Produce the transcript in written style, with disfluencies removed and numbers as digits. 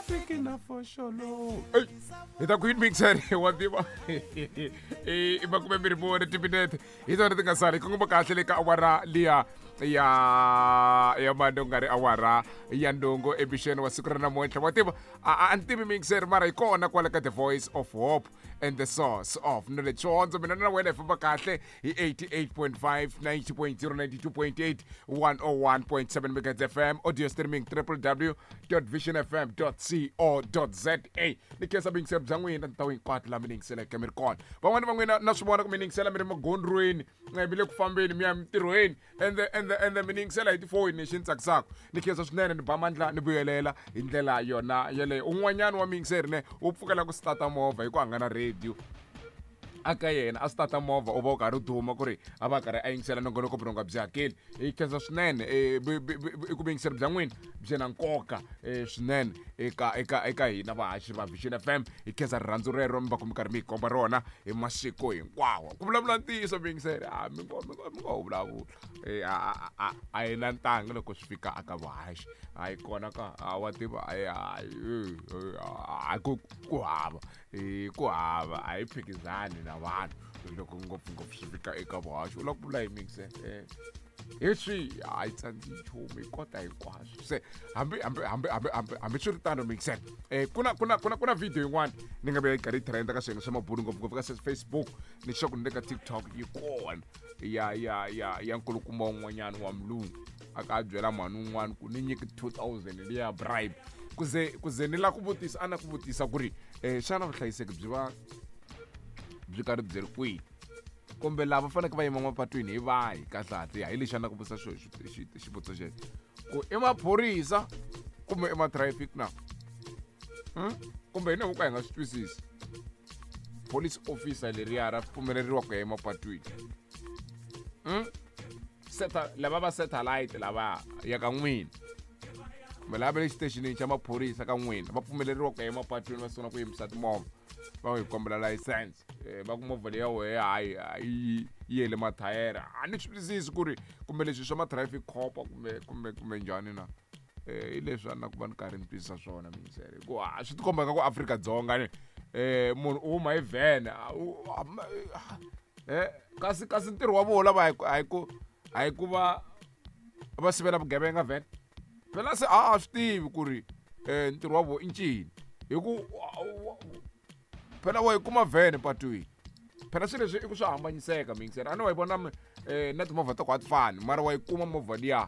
Tiki na foxolo. Ey, hi ta ku yini mixer wa tiva i 24 timinete hi tona ti nga sala hi kongoma kahle le ka awara liya ya ya mande ku nga ri awara ya ndongo emixeni wa siku ra namuntlha. Wa tiva, a ni tivi mixer, mara hi kona kwala ka The Voice of Hope and the Source of Knowledge. Xihondzo mina na wena hi famba kahle hi 88.5, 90.0, 92.8, 101.7 megahertz FM, audio streaming www.visionfm.co.za. Ni khensa vuyingiseri bya n'wina tindhawu hinkwato laha mi ni yingiseleke mi ri kona. Van'wani va n'wina na swi vona ku mi ni yingisela mi ri magondzweni, mi le ku fambeni mi ya mintirhweni, ende mi ni yingisela hi tifoni. Lexi ni tsakisaka, ni khensa swinene, ni ba mandla ni vuyelela hi ndlela yona yeleyo. Un'wanyana wa muyingiseri ne u pfukela ku stata movha hi ku hangana radio aka yena a stata movha, u va u karhi u duma ku ri a va karhi a yingisela nongonoko vurhonga byi hakeli. Hi khensa swinene i ku vuyingiseri bya n'wina byi na nkoka swinene eka hina vahaxi va Vision FM. Hi khensa rirhandzu rero mi va ku mi karhi mi hi komba rona hi masiku hinkwawo. Ku vulavula ntiyiso, vuyingiseri, a mi ngo vulavula, a hi na ntanga loko swi fika aka vuhaxi, a yi kona ka a wa tiva, a ku hava, ku hava, a hi phikizani na vanhu loko ngopfungopfu swi fika eka vuhaxi. U lava ku vula hi mixer hi swi a yi tsandzi nchumu, hi kota hinkwaswo. Se hambi swi ri tano, mixer, ku na video yin'wana ni nga ve yi karhi yi trenda ka swiyenge swa mabulu, ngopfungopfu ka Facebook, ni sure ku ni le ka TikTok yi kona, ya nkulukumba un'wanyana wa mulungu a ka a byela mhani un'wana ku ni nyiki 2000 liya bribe. Ku ze ni la ku vutisa, a na ku vutisa ku ri xana vuhlayiseki byi va byi karhi byi ri kwihi, kumbe lava faneleke va yima mapatwini hi vahi kahlekahle? Hi lexi a na ku vutisa xivutiso xexo, ku i maphorisa kumbe i ma-traffic na, Kumbe hi ka hi nga swi twisisi, police officer leriya ra pfumeleriwa ku ya emapatwini, Seta lava va satellite lava ya ka n'wina, kumbe lava va le xitexinini xa maphorisa ka n'wina, va pfumeleriwa ku ya emapatwini va sungula ku yimisa timovha, va hi kombela license, va ku movha leyi ya wehe hayi yi yele mathayere? A ni swi twisisi ku ri kumbe leswi swa ma-traffic cop kumbe njhani na. Hi leswi a na ku va ni karhi ni twisisa swona miyingiselo, hikuva a swi tikomba nga ku Afrika-Dzonga ni munhu u huma hi vhene, kasi ntirho wa vona lava a hi ku va va sivela vugevenga vhene. Phela se a swi tivi ku ri ntirho wa vona i ncini, hi ku phela wa yi kuma vhene patwini. Phela swilo leswi i ku swi hambanyiseka, miyingiselo, a ni wa yi vona na timovha ta ku a ti fani, mara wa yi kuma movha liya.